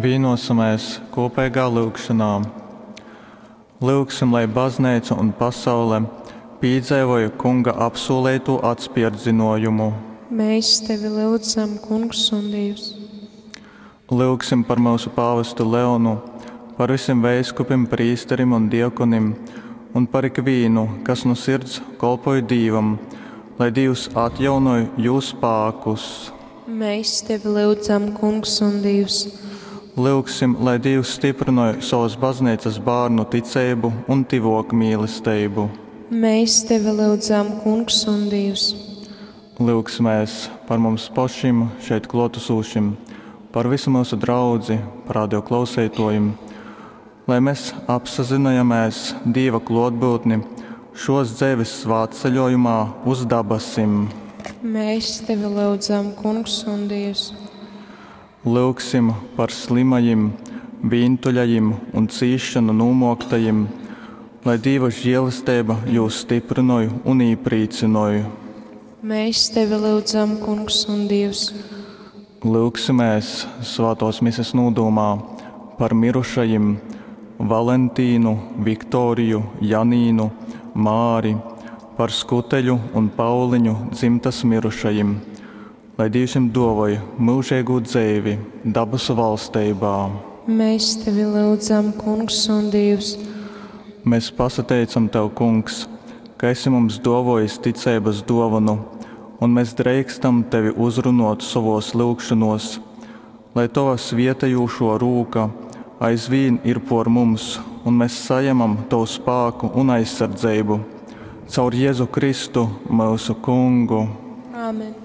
Vīnosimēs kūpeigā lyugšonā. Lyugsim, lai Bazneica un pasaule pīdzeivoj Kunga apsūleitū atspērdzynōjumu. Mēs tevi lyudzam, Kungs un Dīvs. Lyugsim par myusu pāvestu Leonu, par vysim veiskupim, prīsterim un diakonim un par ikvīnu, kas nu sirds kolpoj Dīvam, lai Dīvs atjaunoj jū spākus. Mēs tevi lyudzam, Kungs un Dīvs. Lyugsim, lai Dīvs styprynoj sovas Bazneicas bārnu ticeibu un tyvōkmīlesteibu. Mēs tevi lyudzam, Kungs un Dīvs. Lyugsimēs par mums pošim, šeit klōtasūšim, par vysu myusu draudzi, par radio klauseitōjim, lai mes apsazynojamēs Dīva klōtbyutni šōs dzeives svātceļōjumā uz dabasim. Mēs tevi lyudzam, Kungs un Dīvs. Lyugsim par slymajim, vīntuļajim un cīsšonu nūmōktajim, lai Dīva žielesteiba jūs styprynoj un īprīcynoj. Mēs tevi lyudzam, Kungs un Dīvs. Lyugsimēs svātōs Mises nūdūmā par mirušajim, Valentīnu, Viktoriju, Janīnu, Māri, par Skuteļu un Pauliņu dzymtas mirušajim, lai Dīvs jim duovoj myužeigū dzeivi dabasu valsteibā. Mēs tevi lyudzam, Kungs un Dīvs. Mēs pasateicam tev, Kungs, ka esi mums dōvōjis ticeibas dōvonu un mes dreikstam tevi uzrunōt sovōs lyugšonōs. Lai tova svietejūšō rūka aizvīn ir pōr mums un mes sajemam tovu spāku un aizsardzeibu. Caur Jezu Kristu, myusu Kungu. Āmen.